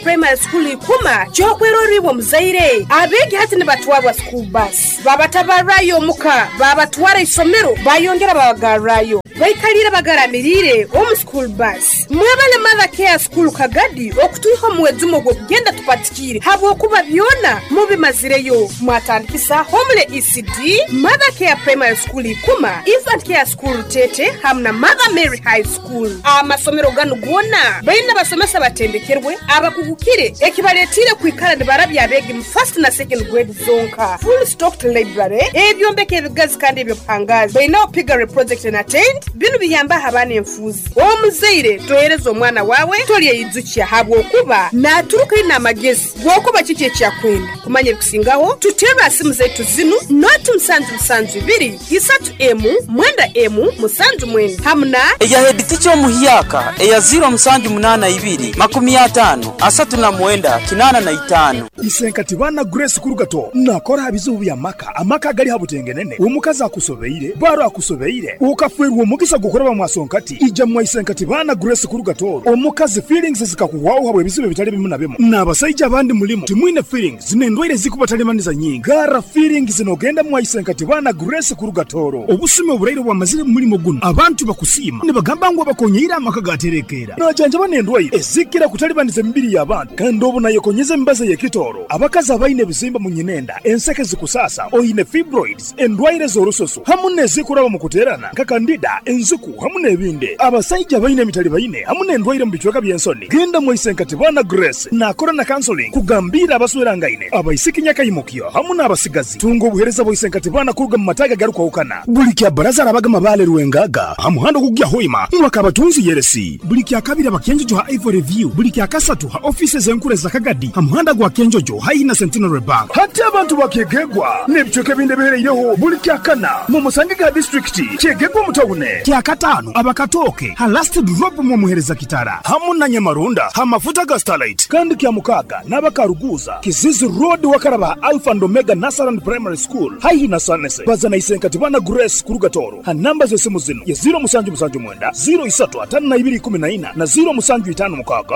Primary School Ikuma ky'okweroribwa omuzaire. Abeegi hati nibatwarwa school bus babatabarrayo omuka babatwara isomero bayongera babagarrayo. Baikaliire bagaramiriire omu school bus. Mwebale Mother Care School Kagadi okutwiha omu mwejumo gw'okugenda tupatikiire habwokuba byona mubimazireyo. Mwatandikisa Homely ECD, Mother Care Primary School Ikuma, Infant Care School Rutete hamu na Mother Mary High School. Amasomero ganu goona baine abasomesa abatendekerwe, abakugukire ekibaletiire kwikara nibarabya abeegi mu first na second grade zonka. Full stocked library, ebyombeko ebigazi kandi eby'obuhangaazi. Baineho piggery project na tent, binu biyambaho abaana enfuuzi. Omuzaire tohereza omwana waawe tolyeyijukya habwokuba naaturuka aine amagezi g'okuba kiki eki akwenda. Kumanya ebikusingaho, tuteerre aha simu zaitu zinu, noti musanju musanju ibiri, isatu emu, mwenda emu, musanju mwenda hamu na. Eya heeditica omuhyaka eya ziiro musanju munaana ibiri, 50, 39, 85. Isenkati baana Grace Kurugato nakora aha bizibu bya maka, amaka agali ha butengenene, omukazi akusobeire, baro akusobeire, okafwerwa omugisa gw'okuraba mwa Sonkati, ija mwa Isenkati baana Grace Kurugato, omukazi feelings zikakuhwaho habw'ebizibu ebitali bimu na bimu. N'abasaija abandi mulimu timwine feelings n'endwaire ezikubatalibaniza nyingi. Garra feelings nogenda mwa Isenkati baana Grace Kurugatoro. Obusumi oburaire obwamazire mu mulimo gunu, abantu bakusiima nibagamba ngu abakonyeire amaka gaterekeera. Najanjaba n'endwaire ezikira kutalibaniza emibiri y'abantu kandi obu nayekonyeza emibazi ey'ekitooro. Abakazi abaine ebizimba mu nyinenda, enseke zikusaasa, oine fibroids, endwaire z'orususu hamu n'ezikuraba mu kuteerana nka kandida, enziku hamu n'ebindi. Abasaija abaine emitalibaine hamu n'endwaire mu bicweka by'ensoni, genda mwaise nka Tibana Grace naakora na counseling kugambiira abaswerangaine, abaisiki nyakaimukyo hamu n'abasigazi. Tunga obuheereza bwa Isenkatibana kuruga mu mataagi agarukwahukana. Buli kya Baraza arabaga Mabaale Rwengaga ha muhanda ogukugya Hoima ngu Akabatunzi Yeresi. Buli kya Kabiri aba Kyenjojo ha Ivory View. Buli kya Kasatu ha ofiisi ez'enkuru eza Kagadi ha muhanda gwa Kyenjojo haihi na Centenary Bank. Hati abantu ba Kyegegwa n'ebicweka ebindi ebihereireho buli kya Kana mumusangege ha disiturikiti Kyegegwa omu tawune. Kya Kataano aba Katooke ha Last Drop mwomuhereza Kitara hamu na Nyamarunda ha mafuta ga Starlight. Kandi kya Mukaaga n'aba Karuguuza, Kizizi Road wakaraba ha Alpha and Omega Nursery and Primary School haihi na Sanese. Baza na Isenkati Bana Grace kuruga Tooro ha namba z'esimu zinu ye 0779 03 52 14 na 0756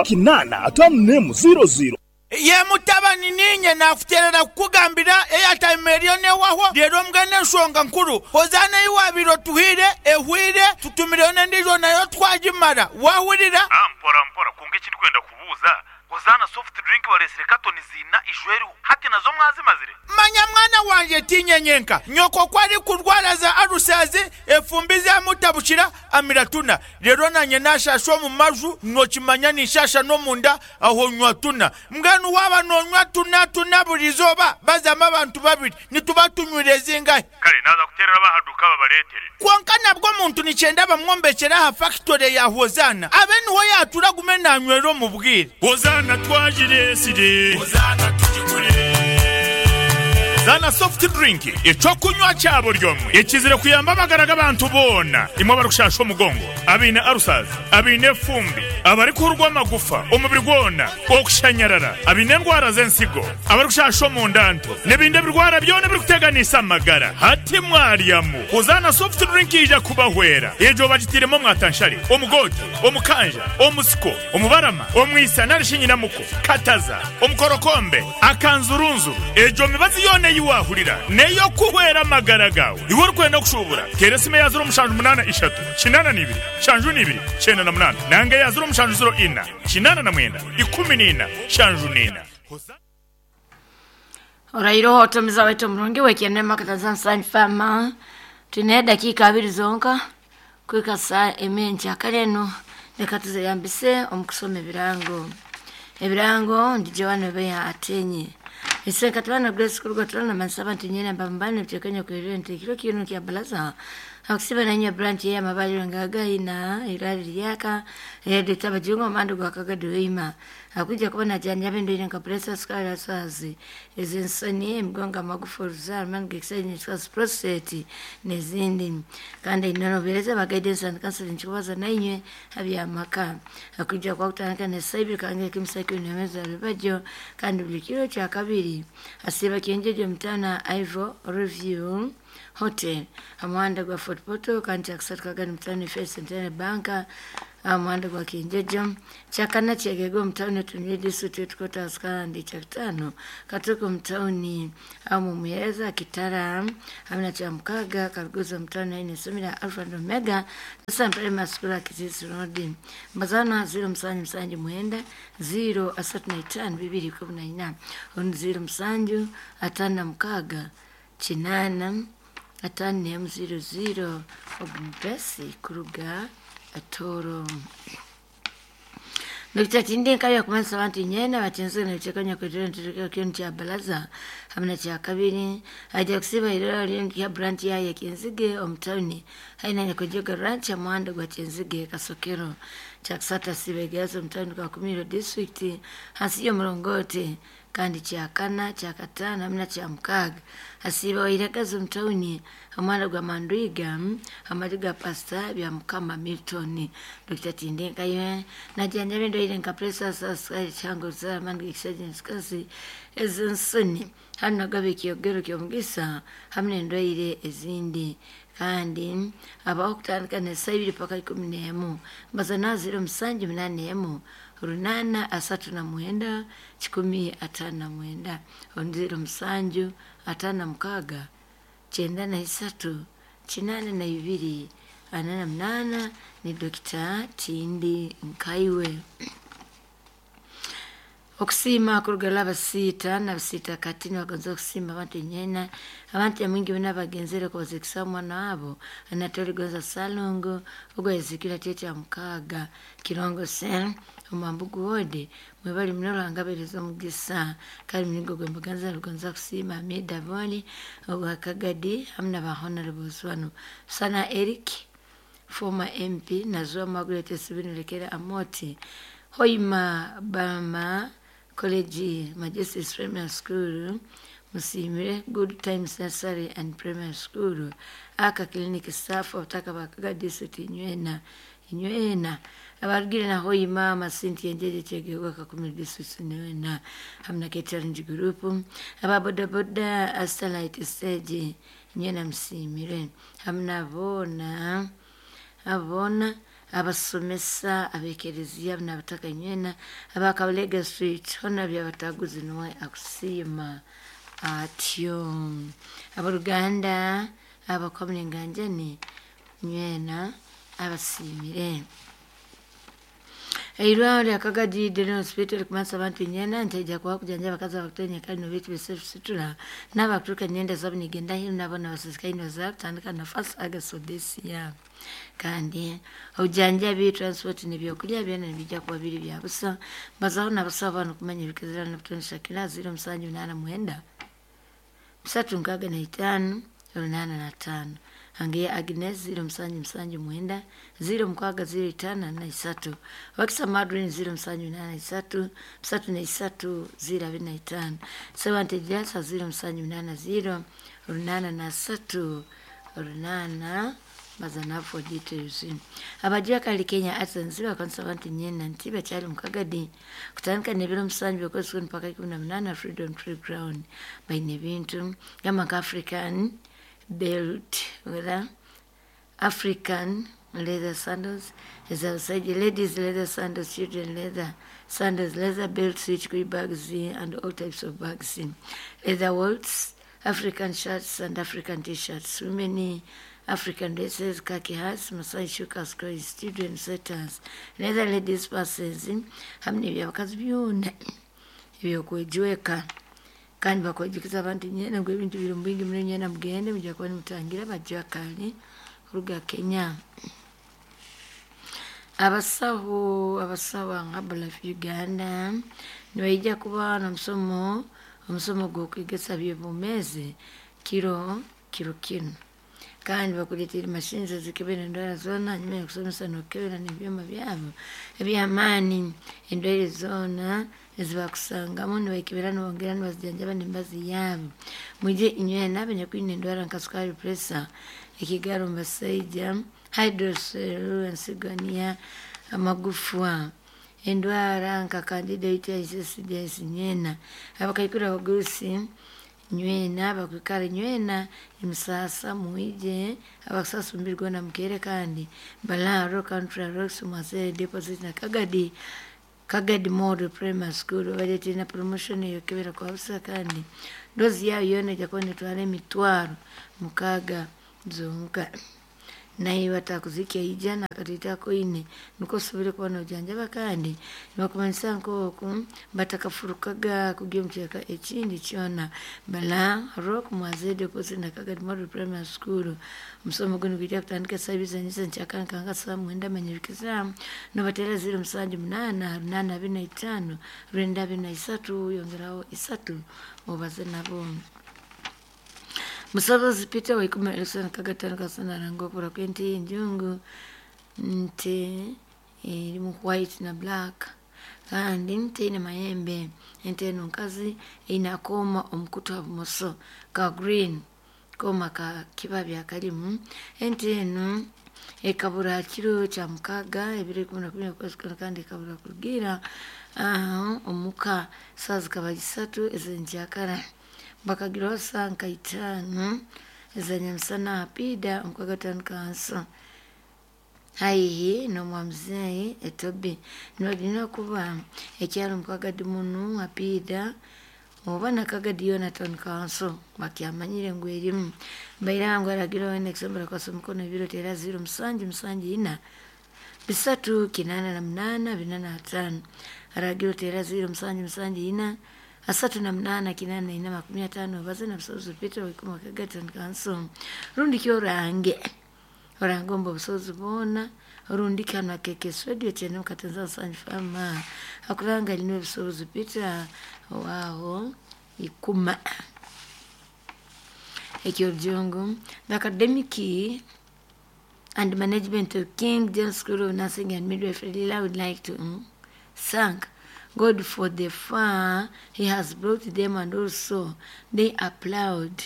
851 00. Ye mutabani, niinye naakuteerera kukugambira eyataima eriyo n'ehwaho, reero mbwenu enshonga nkuru, Hozaana ei waabaire otuhaire ehwaire, tutumireyo n'endiijo nayo twagimara. Waahurira? Mpora mpora, kwonka eki ndikwenda kubuuza, Hozaana soft drink bareetsire katoni ziina ijo eriho, hati nazo mwazimazire? Manya mwana wangye, tiinye nyenka. Nyoko ku arikurwara za alusazi, efumbi zamutabukira, amira tuna. Reero naanye naashaasha omu maju, nookimanya ninshaasha n'omunda, aho nywa tuna. Mbwenu waaba noonywa tuna tuna buri izooba, bazamu abantu babiri, nituba tunywire zingahi? Kare naaza kuteerera ab'aha duuka babareetere. Kwonka nabwo omuntu nikyenda bamwombekyere aha fakitore ya Hozaana, abe niho yaatuura agume naanywera omu bwire. Hozaana twagireetsire. Hozaana tugigure. Zaana Soft Drink, eky'okunywa kya buri omwe ekizire kuyamba amagara g'abantu boona, imwe abarikushaasha omugongo, abaine ulcers, abaine efumbi, abarikuhurwa amagufa omubiri gwona, okushanyarara, abaine endwara z'ensigo, abarikushasha omunda nto, n'ebindi ebirwara byona ebirikuteganisa amagara. Hati mwaryamu Hozaana Soft Drink eija kubahwera. Egyo bagitairemu omwatanshare, omugoote, omukanja, omusiko, omubarama, omwisa nari shi nyinamuko, kataza, omukorokombe, akanzurunzuru. Egyo mibazi yoona ei waahurira n'ey'okuhwera amagara gaawe. Iwe orikwenda kushuubura, teera esimu eya 0783 82 72 98 nanga eya 0704 89 14 74. Orairoho otumiza waitu omurungi wekyendema kataza Sun Farm. Twine edakiika abiri zonka kuhika saa emwe kare eno reka tuzeyambise omu kusoma ebirango. Ebirango ndi Joan Obeya Atenyi. Isenka tubana Grace Kuruga turana mansaba nti nyene mbambane mtekenya kuirente kiro kino kya balaza akusiba na nya branch ya mabaliro ngaga ina irali lyaka yede tabajungo mandu gwakagaduima akuja kubona janja bendo ina kapresa sukari swazi ezinsoni emigongo amagufa oruzaaro mani gekisajja ekikazi prostate n'ezindi kandi inonobereza ba guidance and counseling kikubaza nainywe habyamaka akuja kwa kutandika nesaibiri kange kimusakiro nemeza rubajo kandi buli kiro kya kabiri asiba kyenjeje mutana Ivo Review Hotel amuhanda gwa Fort Portal kandi kyakusatu kagani mutano First Centenary Bank. Aha muhanda gwa Kinjejo, kyakana Kyegegwa omu tawuni Otunire District Headquarters kandi kyakutaano Katooke omu tawuni aho omu Muheereza Kitara hamwe na Kyamukaaga Karuguza omu tawuni haihi n'eisomero rya Alpha and Omega San Primary School aha Kisiisi Road. Mbazaano aha 0779 035 214 orundi 0756 8 51 00 ogu mupesi kuruga Tooro. Dokita Tindi Nkabi akumanyisa abantu nyeena abatinzire n'ebicweka nyakwetera niturekera kinu kya Baraza hamwe na kyakabiri aija kusiiba iraro rya branch yayo ya Kyenzige omu tawuni haihi na Nyakwejega ranch aha muhanda gwa Kyenzige Kasokero. Kyakusatu asiiba Igaazi omu tawuni Kakumiro district hansi y'omurongoti kandi kyakana, kyakataano hamwe na kyamukaaga asiiba Wairagazi omu tawuni aha muhanda gwa Mandwiga aha maju ga Pasita Byamukama Milton. Dokita Tindenkayo najanjaba endwaire nka pureesa, sukari, kihango, ruzaaro, amaani g'ekishaija n'ekikazi, ez'ensoni hamwe nagaba ekiyogero ky'omugisa hamwe n'endwaire ezindi. Kandi abaho kutandika n'esaaha ibiri paka 11 mbaza naazire 781 839 159 orundi 07 56 93 82 48 ni Dokita Tindi Nkaiwe. Okusiima kuruga Labasiita Nabasiita kati nibagonza okusiima abantu enyeena abantu nyamwingi boona abagenzere kubazikisa omwana waabo Anatoli Gonza Ssalongo ogu ayazikirwe ha kiro kya mukaaga Kirongo Cell omu Mambugu Ward. Mwebale muno Ruhanga abahereze omugisa kandi muringo gw'embaganiza rugonza kusiima Hamid Aboli owa Kagadi hamu na ba Honorables banu Sana Eric former MP Nazua Margaret Sibinu Lekera Amoti Hoima Bama College Majesties Primary School Musiimire Good Times Nursery and Primary School Aka Clinic staff obutaka bwa Kaga District inywena inywena abarugire na Hoima Masinti Enjeje Kyegegwa Kakumiro District inywena hamwe na K-Challenge Group aba boda boda Starlight Stage inywena musiimire hamwe na boona aboona abasomesa ab'ekereziya n'abataka inywena aba Kabalega Street hoona Byabataguzi nuwe akusiima atyo. Ab'oruganda abakwamune enganjani inywena abasiimire. Eirwariro rya Kagadi General Hospital rikumanyisa abantu inywena nti haija kubaho okujanjaba abakazi abarikuteera enyakare n'obeitu b'esituura n'abarikuturuka enyenda zaabo nigenda aheeru nabo nabasisikaire nibaza kutandika na 1st August of this year. Kandi obujanjabi, transport n'ebyokurya byona nibiija kuba biri bya busa. Mbazaho n'abasaho banu kumanya ebikezera n'obutono Shakira 0789 365 85 Hangeya Agnes 0779 06 0543 Wakisa Madrine 0783 33 025 Sewante Jasa 0780 83 8 baza na for details. Abajua kali Kenya Arts and bakanisa abantu nyena nti bakyali mu Kagadi kutandika n'ebiro 7 by'okwezi kunu mpaka 18 Freedom Tree Ground baine ebintu gamba nka African belt whether African leather sandals ez'abasaija ladies leather sandals children leather sandals leather belt switch bags and all types of bags leather wallets African shirts and African t-shirts women African dresses, khaki hats, Masai shukas, clothes, children sweaters, leather ladies purses hamwe n'ebyabakazi byona ebyokwejweka kandi bakwejukiza abantu nyena ngu ebintu biri omu bwingi muno nyena mugende mujja kuba nimutangira abajwakali kuruga Kenya. Abasaho abasaho nka Herbalife Uganda nibaija kuba n'omusomo omusomo gw'okwegesa by'obwomeezi kiro kiro kinu kandi bakuleetera mashini ezikebera endwara zoona hanyuma y'okusomesa n'okukebera n'ebyoma byabo eby'amaani endwaire zoona ezibakusangamu nibaikebera nibongera nibazijanjaba n'emibazi yaabo. Mwije inywena abanyakwine endwara nka sukari, pureesa, ekigaro omu basaija, hydrocele, ensigania, amagufwa, endwara nka candida UTI, SIDS nywena, abakaikuru abagurusi Nywena abakwikara nywena emisasa mwije abakusasa omubiri gwona mukeere kandi Balaaro Country Rocks Mwasere Deposit na Kagadi Kagadi Model Primary School baleetire na promotion eyokebera kwa busa kandi dozi yayo yoona ejja kuba netwara 600 zonka. Naiwe atakuzikya ija nakatete akoine nukwo osobole kuba nojanjaba kandi nibakumanyisa nk'oku batakafurukaga kugya omu kicweka ekindi kyona. Bala Rock Mwazede Deposit na Kagadi Model Primary School. Omusomo gunu gwija kutandika esaaha ibiri z'enyisa nkyakara nka saaha 9 manyirikiza nobateera 078 825 923 yongeraho 3 obaze nabo. Musobozi Peter Waikuma Elson Kagatano Kasana arangwa okubura kw'ente y'enjungu nte erimu white na black kandi teine mayembe. Ente enu nkazi eine akooma omu kutu ha bumoso ka green kooma ka kibabi akarimu. Ente enu ekabura aha kiro kya 6 2011 okwezi kunu kandi ekabura kurugiira omuka saaha zikaba 3 ez'enkyakara. Bakagiraho saaha nka 5 ez'enyamusana aha piida omu Kagatano Kanso haihi n'omwamuzeeyi Etobi. Nibagira kuba ekyaro omu Kagadi munu ha piida oba na Kagadi yoona Town Council bakyamanyire ngu erimu. Baira ngu aragira weena ekisombora kwasa omukono ebiro teera 0 7 7 4 3 8 8 45. Aragira oteera 0 7 7 4 3 8 8 4 50 obaze na Busozi Peter Waikuma Kagadi Town Council. Rundi ki orange orange omu busozi bwona rundi kanu akekes radio kyene mukatenza Sanyu Fama akuranga lino Busozi Peter waaho ikuma. Eky'orujungu, the academic and management of King James School of Nursing and Midwifery would like to thank God for the far he has brought them, and also they applaud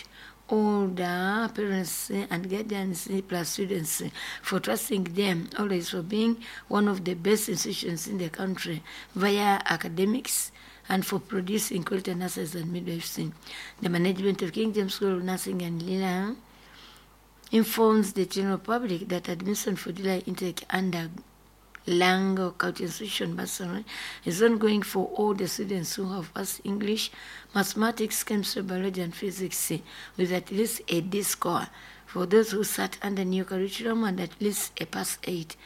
all the parents and guardians plus students for trusting them always for being one of the best institutions in the country via academics and for producing quality nurses and midwives. The management of King James School of Nursing and Lila informs the general public that admission for July intake under Lango Culture Institution Bursary is ongoing for all the students who have passed English, Mathematics, Chemistry, Biology and Physics with at least a D score. For those who sat under new curriculum and at least a pass 8.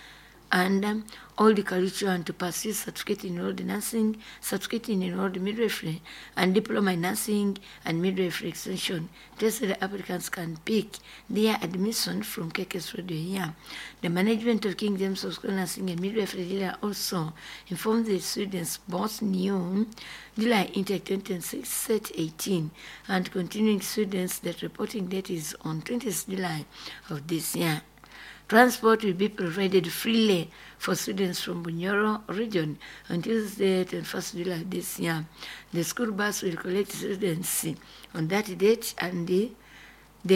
And all the curriculum to pursue certificate in enrolled nursing, certificate in enrolled midwifery, and diploma in nursing and midwifery extension. Tested applicants can pick their admission from KKS Radio here. The management of King James School Nursing and Midwifery Lila also informed the students both new July intake 2026 set 18 and continuing students that reporting date is on 20th July of this year. Transport will be provided freely for students from Bunyoro region on Tuesday, 21st July this year. The school bus will collect students on that date, and the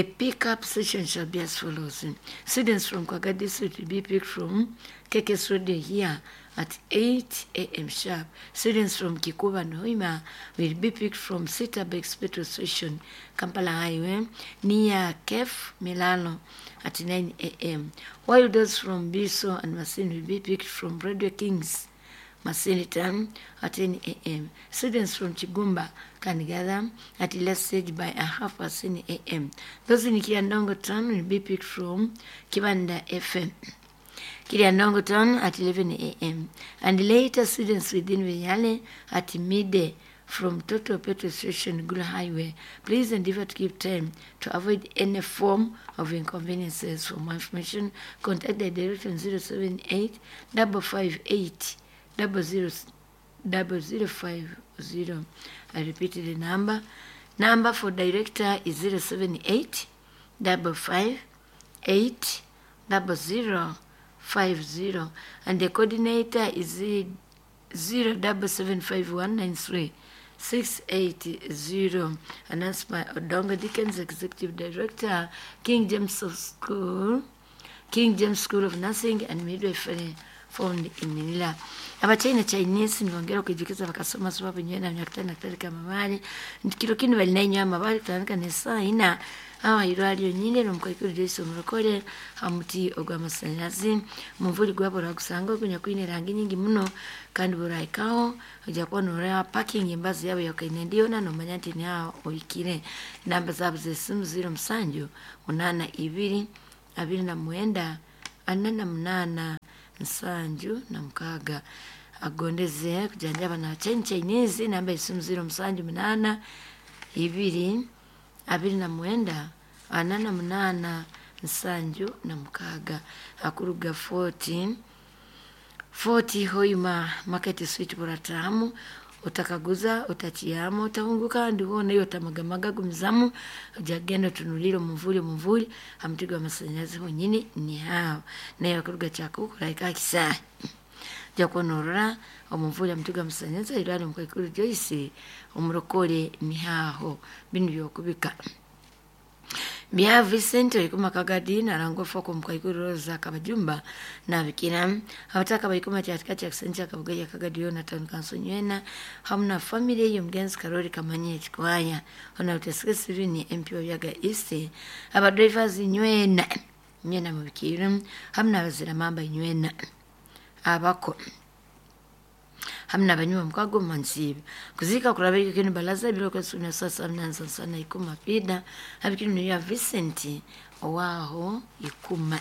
pickup session shall be as follows. Students from Kwaga district will be picked from KKS Radio here at 8 a.m. sharp. Students from Kikuba and Hoima will be picked from Sitabex petrol station, Kampala Highway, near Kef Milano at 9 a.m. While those from Biso and Masin will be picked from Radio Kings, Masini Town at 10 a.m. Students from Chigumba can gather at last stage by 10:30 a.m. Those in Kiandongo Town will be picked from Kibanda FM. Kiriandongo Town at 11 a.m. And later students within Vinyale at midday from Total Petrol Station, Gulu Highway. Please endeavor to keep time to avoid any form of inconveniences. For more information, contact the director on 078 558 000050. I repeat the number. Number for director is 078 558 0050, and the coordinator is 0775193 680. Announced by Odongo Dickens, Executive Director, King James School of Nursing and Midwifery, found in Manila. Abachina Chinese nibongera okwijukiza bakasoma sababu nywena myakutano na amabare nti kiro kinu bali nainywa amabare kutandika nesaa ina awa irwaliro nyine nomukaikuru Joyce omurokore hamuti ogw'amasanyalazi mumvuri gwabo oragusanga ogunya kwine erangi nyingi muno kandi buraikaho ojja kuba noreba parking embazi yabo yokaine ndiyona nomanya nti niaho ohikire. Namba zaabo z'esimu 07 82 29 48 76 agondeze kujanjaba na Chen Chinese namba y'esimu 07 8 29 48 76 akuruga 40 40 Hoima Market Street buratamu utakaguza utachiyamo utahunguka ndiwona iyo tamagamaga gumizamu ujagenda utunulire omuvuli omuvuli hamutigo amasanyalazi honyini ni hao naye akuruga kyakukuraika kisa jakunorora omuvuli hamutigo amasanyalazi irwari mukaikuru Joyce omurokore ni haho binu byokubika Bia Vincent oikuma kagadi narangwa foko mkaikuru Rosa kabajumba na bikira abataka baikuma kyatika kya kusenja kabugaya kagadi yona town council nywena hamna family y'omugenzi Karori Kamanye ekikwaya ona utesike sivini MP wa East aba drivers nywena nywena mubikira hamna abazira mamba nywena abako hamna banywa mkago mansibe kuzika kurabika kinu balaza bilo kwesuna sasa mnanza sana ikuma pida habikinu ya Vincent owaho ikuma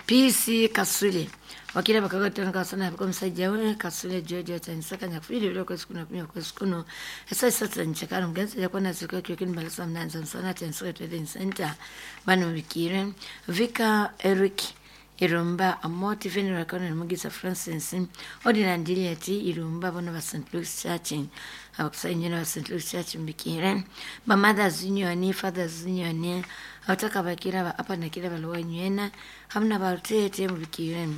PC Kasule wakira bakagatana kasana bako musajja we Kasule George atanisaka nyakufiri bilo kwesuna kumya kweskuno esa sasa nchakara mgenzi yakona zika kinu balaza mnanza sana tanisaka trading center bano bikire Vika Eric Irumba amoti funeral Colonel Mugisa Francis Ordinary Juliet Irumba bono ba St. Luke's Church abakusanyira ba St. Luke's Church mbikire ba Mothers Union Fathers Union abataka bakira ba apa nakira balowa nywena hamna barutete mubikire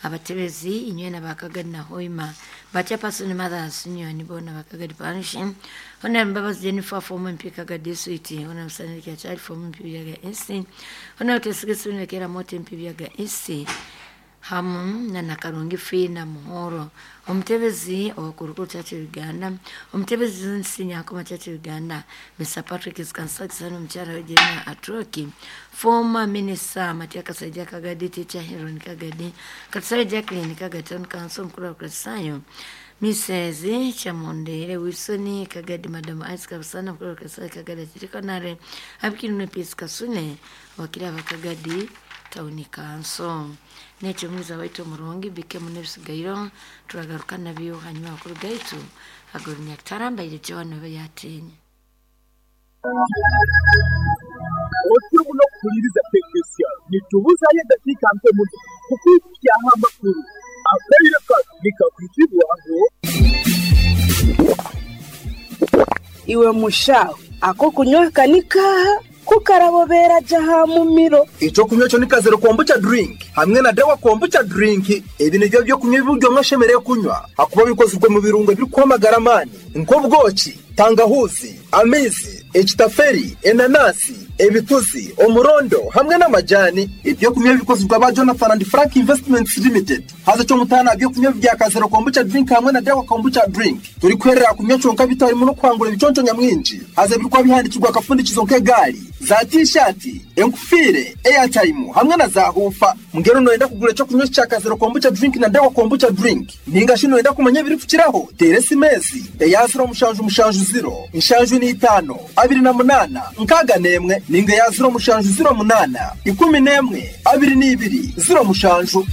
abatebezi inywena bakagadi na hoima bachapaso ni Mothers Union bona bakagadi parish hona mbabazi Jennifer former MP kagadi suite hona msaniki ya child former MP yaga esi hona utesigesune kera mote MP yaga esi hamu na nakarungi fina muhoro omutebezi owakurukuru Church Uganda omutebezi nsinyakoma Church Uganda Mr Patrick Skansakisano omukyala we Jena Atroki former minister Matia Kasaija Kagadi teacher Heron Kagadi Katusare Jacqueline Kagadi town council mukuru wa Kristayo Mrs. Chamondere Wilson Kagadi Madam Isaac Kabusana mukuru wa Kristayo Kagadi Chirikonare abikinu Peace Kasune wakira bakagadi tawuni kanso nekyo mwiza waitu omurungi bikemu n'ebisigairo turagaruka nabyo hanyuma abakuru gaitu agorunya kutarambaire John obe yatinya Otyo muno kuhuliriza tekinisiya nitubuzayo eddakiika nto muno kukwikyaho amakuru akaire kano nikakwitibwaho. Iwe mushaho ako kunywa kanikaha kukarabobera jaha mumiro. Ekyokunywa kyo ni kazero kombucha drink hamwe na dawa kombucha drink. Ebi nibyo byokunywa ebiryo mwashemereire kunywa hakuba bikozirwe mu birungo ebirikwamagara amaani nk'obwoki, tangahuzi, amaizi, ekitaferi, enanasi, ebituzi, omurondo hamwe n'amajani. Ebyokunywa bikozirwe aba Jonathan and Frank Investments Limited. Haza kyomutaana byokunywa bya kazero kombucha drink hamwe na dawa kombucha drink turikwerera kunywa kyonka bitarimu n'okuhangura ebiconco nyamwingi. Haza ebirikuba bihandikirwe akafundikizo nk'egaari za t-shirt, enkufiire, airtime hamwe na za hufa. Ngero noyenda kugura ekyokunywa kya kazero kombucha drink na dawa kombucha drink ninga shi noyenda kumanya ebirikukiraho teera esimesi eya 0 7 7 0 75 28 61 ninga ya 0 7 0 8 11 22 07.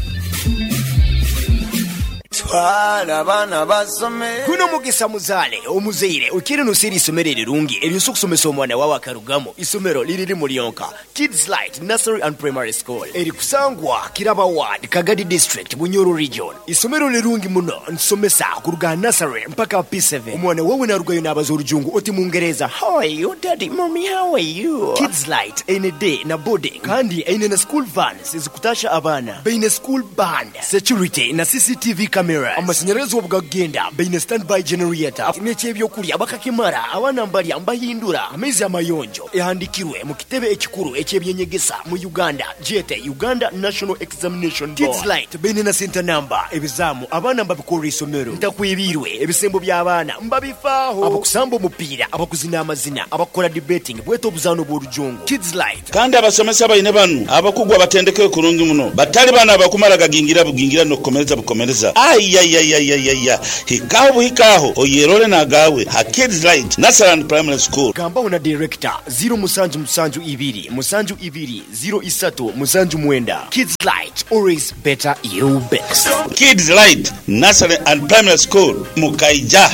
Twala abaana basome. Guno mugisa muzaale omuzaire okiri nosiri isomero erirungi eryosa okusomesa omwana wawe akarugamu. Isomero liriri mulyonka Kids Light Nursery and Primary School erikusangwa Kiraba Ward, Kagadi District, Bunyoro Region. Isomero lirungi muno nsomesa kuruga nursery mpaka P7. Omwana wawe narugayo n'abaza orujungu oti mungereza how are you daddy mommy how are you. Kids Light eine day na boarding kandi eine na school vans ezikutasha abaana baine school band security na CCTV cameras. Cameras. Amashanyarazi obu gakugenda, baine standby generator n'eky'ebyokurya bakakimara, abaana mbarya mbahindura amaizi amayonjo. Ehandikirwe mu kitebe ekikuru eky'eby'enyegesa mu Uganda gyete Uganda National Examination Board. Kids Light baine na center number, ebizaamu abaana mbabikorera isomero. Ntakwibiirwe, ebisembo by'abaana mbabifaaho. Abakusamba omupiira, abakuzina amazina, abakukora debating bwete obuzaano bw'orujungu. Kids Light. Kandi abasomesa baine banu abakugu abatendekirwe kurungi muno, batali banu abakumara gagingira bugingira n'okukomereza bukomereza. Aiaiaiaiaia! Hikaho buhika aho oyerole n'agaawe ha Kids Light Nursery and Primary School. Gambaho na Director, ziro musanju musanju ibiri musanju ibiri ziro isatu musanju mwenda. Kids Light, always better you best. Kids Light Nursery and Primary School, Mukaija.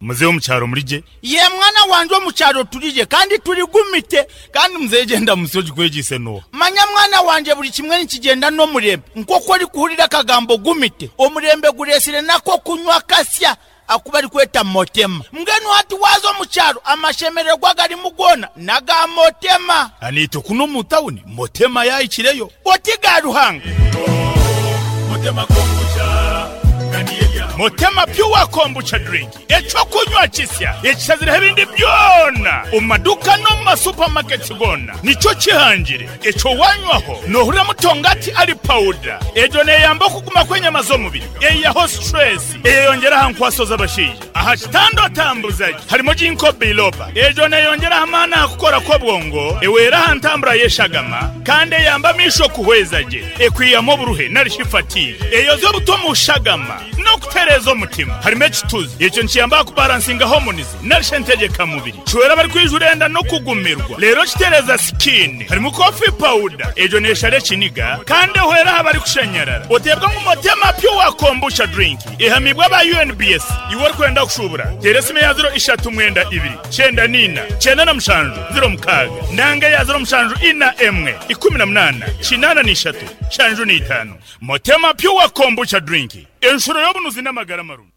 Muzeeyi omu kyaro muri gye? Yee mwana wangye omu kyaro turi gye kandi turi gumite. Kandi muzeeyi gyenda munsi ogikwegyeise n'oha? Manya mwana wangye buri kimwe nikigyenda n'omurembe. Nk'oku orikuhurira akagambo gumite, omurembe gureetsire n'ak'okunywa akasya aku barikweta Motema. Mbwenu hati waaza omu kyaro amashemererwa agarimu goona n'aga Motema. Naitwe kunu omu tawuni Motema yaahikireyo. Oti ga Ruhanga. Motema Pure Kombucha Drink. Eky'okunywa kisya ekishazireho ebindi byona omu maduuka n'omu ma supermarkets goona nikyo kihangire. Ekyo wanywaho nohurira mutongati ari pawuda. Egyo neyamba okuguma kw'enyama z'omubiri, eyihaho stress, eyeyongyera aha nkwaso z'abashaija. Aha kitanda otambuza gye harimu Ginkgo biloba. Egyo neyongyera aha maani aha kukora kw'obwongo, ewera aha ntambura y'eshagama kandi eyamba amaisho kuhweza gye. Ekwihamu oburuhe nari shi fatigue. Eyozya obuto omu shagama. N'okutereeza omutima. Harimu ekituzi. Ekyo nikiyamba aha kubaransinga hormones nari shi entegyekamubiri. Kihwera abarikwijura enda n'okugumirwa. Reero kitereeza sikiini. Harimu coffee powder. Egyo neeshara ekiniga kandi ehwera aha barikushanyarara. Oteebwa ngu Motema Pure Kombucha Drink ehamiibwe aba UNBS. Iwe orikwenda kushuubura, teera esimu eya ziro ishatu mwenda ibiri, kyenda n'ina, kyenda na mushanju, ziro mukaaga nanga eya ziro mushanju ina emwe, ikumi na munaana, kinaana n'ishatu, shanju n'itaano. Motema Pure Kombucha Drink, enshuro y'obunuzi n'amagara marungi.